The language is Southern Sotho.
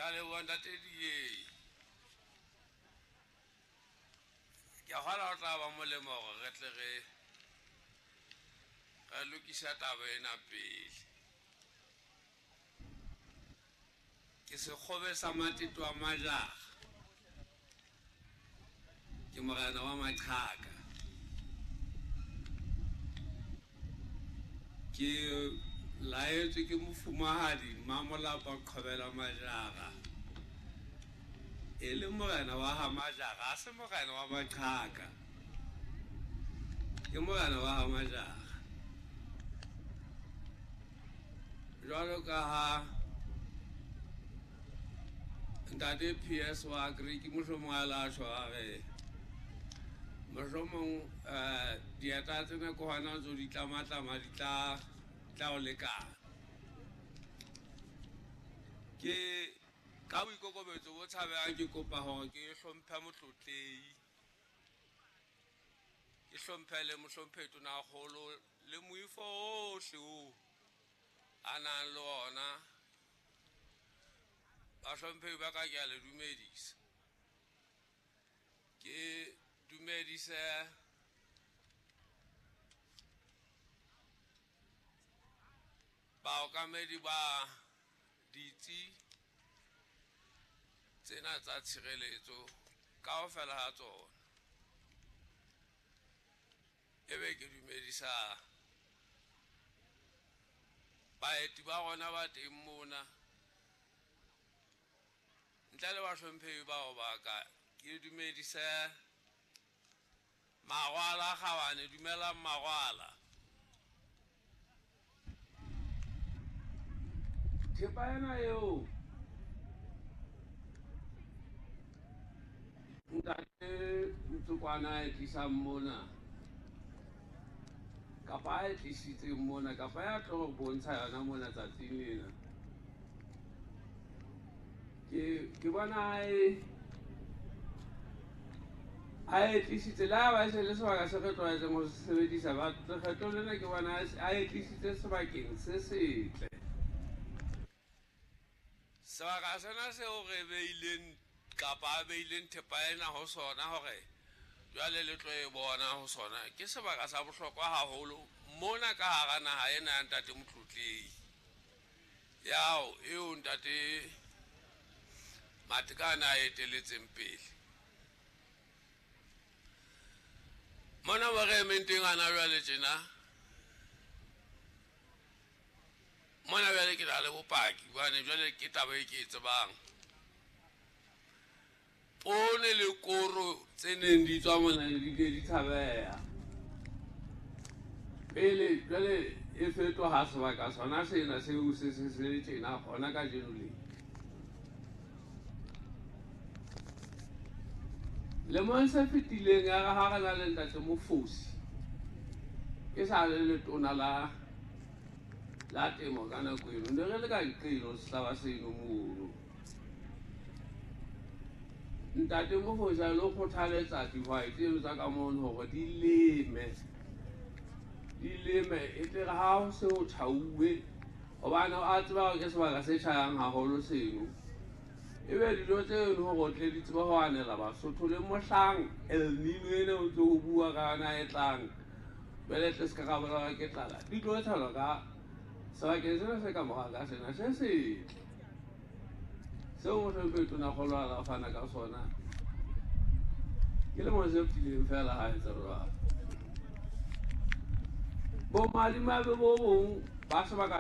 Ke a leboha ntate Diei. Ke a kgolwa ho tla ba molemo hore re tle re lokisa taba ena pele. Ke sekgobe sa Mateto a Majara. Ke morena wa Maqhaka. Ke laetswe ke mofumahadi Mmamolapa Qhobela Majara. E le morena wa ha Majara, ha se morena wa Maqhaka. Ke morena wa ha Majara. Jwalo ka ha ntate PS wa Greek mohlomong a la tjho a re mohlomong dieta tsena ke hona ntso di tlamatlama di tla o lekana. Ke ka boikokobetso bo tshabehang ke kopa hore ke hlomphe motlotlehi, ke hlomphe le mohlomphehi Tonakgolo le moifo ohle oo a nang le ona. Bahlomphehi ba ka, ke a le dumedisa. Ke dumedise baokamedi ba ditsi tsena tsa tshireletso kaofela ha tsona. Ebe ke dumedisa baeti ba rona ba teng mona. Ntle le bahlomphehi bao ba ka, ke dumedise Magwala Kgabane. Dumelang Magwala. Thepa ena eo ntate Ntsokwana a e tlisang mona, kapa a e tlisitseng mona, kapa ya tlo re bontsha yona mona tsatsing lena, ke bona a e tlisitse le ha ba se le sebaka se re tlwaetseng ho se sebedisa, ba lekgetlo lena ke bona a e tlisitse sebakeng se setle. Sebaka sena seo re beileng kapa a beileng thepa ena ho sona hore jwale le tlo e bona ho sona, ke sebaka sa bohlokwa haholo mona ka hara naha ena ya ntate Motlotlehi. Yao eo ntate Matekane a eteletseng pele. Mona mo re emeng teng hana jwale tjena, mona jwale ke na le bopaki hobane jwale ke taba e ke e tsebang. Poone le koro tse neng di tswa mona di ne di tshabeha. Pele jwale e fetoha sebaka sona sena seo se se se tjena hona kajeno le. Lemong se fetileng ya re ha re na le ntate Mofosi, e sa le letona la temo ka nako eno, ne re le ka nqeno sehlaba seno mono. Ntate Mofosi a lo kgothaletsa dihwai tseno tsa ka mono hore di leme, e tle re ha ho se ho tjhauwe, hobane a tseba hore ke sebaka se tjhayang haholo seno. Ebe dijo tseno hore o tle di tsebe ho anela Basotho le mohlang El Nino ena o ntso o bua ka yona e tlang, jwale tle se ka ra bolawa ke tlala, di tlo tshelwa ka sebakeng sena se ka mora ka sena se setle seo mohlomphehi Tonakgolo a la fana ka sona. Ke lemong se fetileng feela ha etsa jwalo. Bomadimabe bo bong ba sebaka